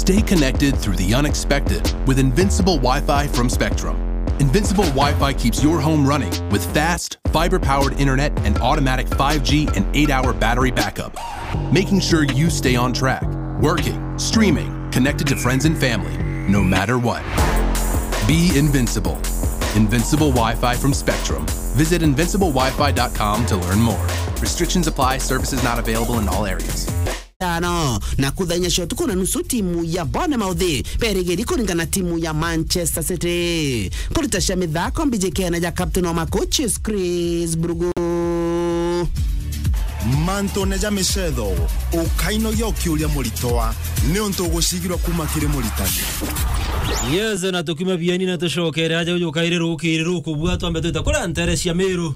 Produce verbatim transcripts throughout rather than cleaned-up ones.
Stay connected through the unexpected with Invincible Wi-Fi from Spectrum. Invincible Wi-Fi keeps your home running with fast, fiber-powered internet and automatic five G and eight-hour battery backup, making sure you stay on track, working, streaming, connected to friends and family, no matter what. Be invincible. Invincible Wi-Fi from Spectrum. Visit invincible wi fi dot com to learn more. Restrictions apply. Services not available in all areas. Tano, na kutha inya cia utuku na nusu, timu ya Bournemouth berigiri kuringana na timu ya Manchester City. Kurita cia mithako mbiji kena ja captain wa ma coaches Chris Brugu. Mantune ja micetho, ukainogia ukiuria muritwa, ni untu ugucigirwa kuma kiri muritani. Yes, na tukiuma bieni na tucokere aja uju kairi rukiri rukubua twambe twite kuria ntere cia Miru.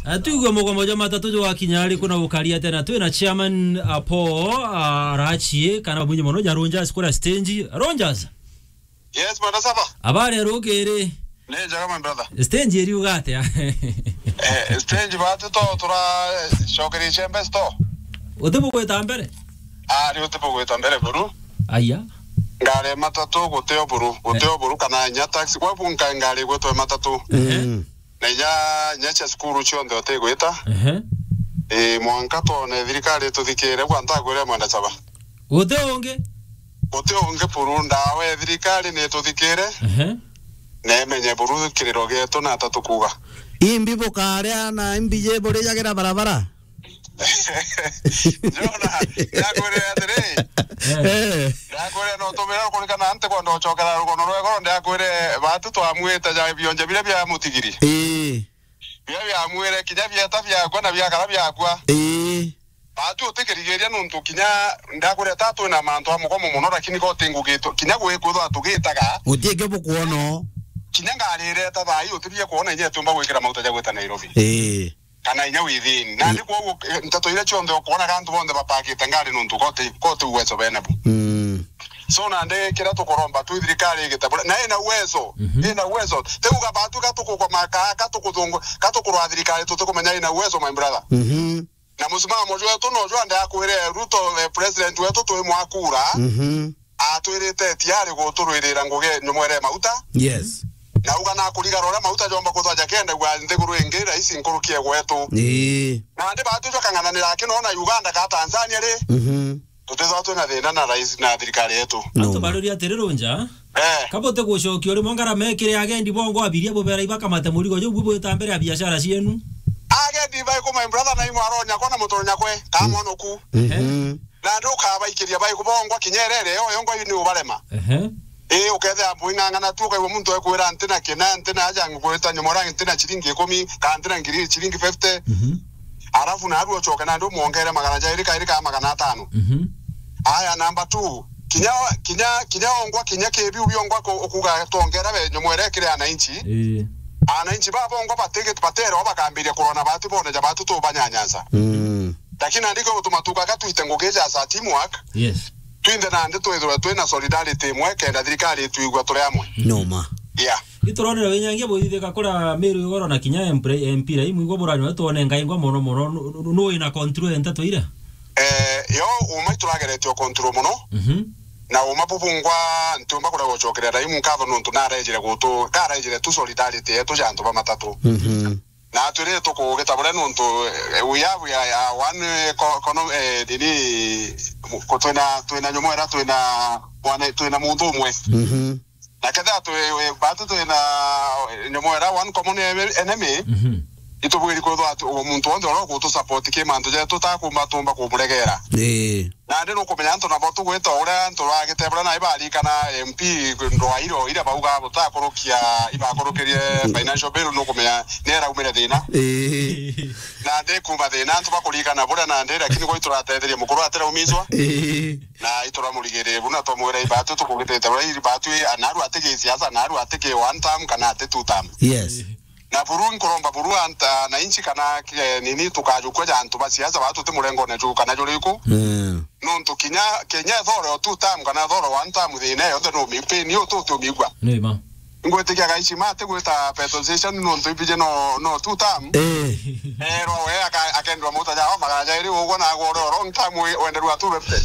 Eh, tuigue mugomo jwa matatu jwakinya ari kuna gukari atia na twina chairman, ah, Paul, ah, Arachie, kana mwinyi mono ja Rogers kuria stage. Rogers? Yes, Mwenda Saba. Habari ya rukiri? Ni njega, my brother. Stage iriuga atia? Eh, stage batu to turacokerie chembe sto. Uti bugwita mbere? Ah, ni uti bugwita mbere buru. Aya. Ngari matatu gutio buru, gutio buru kana inya taxi. Kwa bu nka ngari gwitwe matatu. Ehe. Mm. Na inya, inya cia cukuru cionthe utigwita. Ehe. Ii, mwanka twone thirikari ituthikire, bwa ntakwire Mwenda Saba. Guti ungi? Guti ungi buru, ndawa ya thirikari ni ituthikire. Ehe. Na imenye buru kiriro gietu na ata tukuuga. Imbi bukaria na imbi je burijagira barabara? Jona, ndakwire atiri. Eh. Eh. Ndakwire no tumira kurikana nti kwenda gucokera rugono rwa igoro, ndakwire batu twamwite ja bionje biria bia mutigiri. Ii. Biria biamwire kinya bieta biakwa na biakara biakwa. Ii. Batu utikirigiria nuntu kinya ndakwire ta twina mantu a mugomo mono, lakini ko ti ngugi tu-, kinya gwi kwithwa tugitaga. Guti ingi bukwona. Kinya ngari ireta thaa ii utibie kwona inya itiumba gwikira mauta ja gwita Nairobi. Ii. Kana inya within. Nandi kwoguo, eh, nteto iria cionthe ukwonaga antu bonthe bapakite ngari nuntu ko ti, ko ti uwezo bena bu. Mm. So nandi kiria tukuromba tu thirikari igite bure. Na ina uwezo, mhm, ina uwezo. Teuga batu ka tukukoma ka, ka tukuthungu, ka tukurwa thirikari tutikumenya ina uwezo, my brother. Mhm. Na musimamo jwetu no jwa ndakwire Ruto, eh, president wetu twi mwakura. Mhm. Atwirite tiari guturwirira ngugi nyumwere mauta. Yes. Na uga na kurigara uria mauta jomba kuthwa jakendagua nthiguru ingi raisi nkuruki e gwetu. Ii. Nandi batu jwakang'ananira aki no na Uganda ka Tanzania ri? Mhm. Tutithwa twina thina na raisi na thirikari yetu. No. Antu baruria atiri Runja. Eh. Kabote gucokia uri mongara mekire agendi bongo abiria bubera ibakamate murigo juu bubwita mbere ya biashara cienu. Agendi baiku, my brother, na imwaronya kwa na mutonya kwe, ka mwonoku. Mhm. Na ndu ukabaikiria baikubongwa kinya irere yo yongwa ni ubarema. Ehe. Ii, ukethira mbu ing'ang'ana tu, ukaigua muntu ekwira, "Ntina kina, ntina aja ngwita nyomora, ntina ciringi ikumi, kana ntina ngiri, ciringi fifty." Mhm. Arafu naru ucoke na ndu mwongere magana jairi kairi ka magana atano. Mhm. Aya, number two, kinya, kinya, kinya ongwa, kinya kibiu biongwa ku-, ukuga twongera we nyomwere kiri ananchi. Ii. Ananchi babongwa batigit-, baterwa bakambiria kurona batu bone ja batu tubanyanyansa. Mm. Lakini nandi gwe gutuma tukaga twite ngugi ja sa teamwork. Yes. Twinthe nandi twithirwe twina solidarity imwe kenda thirikari itwigua turi amwe. Noma. Yeah. Ituronera winyangia buthithika kura Miru igoro na kinya M P, M P rai mwigua burani twone ngai ngwa mono mono nu, nu, nu ina control ya nteto ira. Eh, yo uma iturageretio control mono. Mhm. Na uma bubungwa ntiumba kuria gucokeria rai nkatho nuntu narejire gutu, karejire tu solidarity yetu ja antu ba matatu. Mhm. Na twiri tukugita buria nuntu, eh, we have, we are, uh, one, eh, co-, econo-, eh, nini, mu-, ku-, twina, twina nyomwera, twina mwana, twina muntu umwe. Mhm. Na kethira twi, we, batu twina, eh, nyomwera, one common enemy, mhm, itubwiri kwithwa ati, o muntu wonthe uria ugutu support ki mantu jetu, tutakumba tumba kumuregera. Ii. Nandi nukumenya antu nabo tugwita uria antu bagite buria nai barikana M P ndwa iro iria bauga butakurukia, ibakurukirie financial bill, nukumenya ni iraumire thina. Ii. Nandi kuma thina antu bakurikana buria nandi, lakini gwe ituratetherie mukuru atiraumizwa. Ii. Na ituramurigirire buna twamwira ibatu tukugitite buria ibatu anaru atiki siasa, anaru atiki one term kana ati two term. Yes. Na buru nkuromba buru anta na inchi kana, eh, nini tukajukua ja antu ba siasa ba tuti murengone ju kana juriku. Mm. Nuntu kinya, kinya ethore o two term kana ethore one term thina yonthe no mi-, pain yo tu tumigua. Ni ma. Ngwitikia gaici mati gwita petrol station nuntu ibije no, no two term. Eh. Erwa we aka-, akendwa mota ja magana jairi ugwa na agwa oro long term we-, wenderwa two fifty.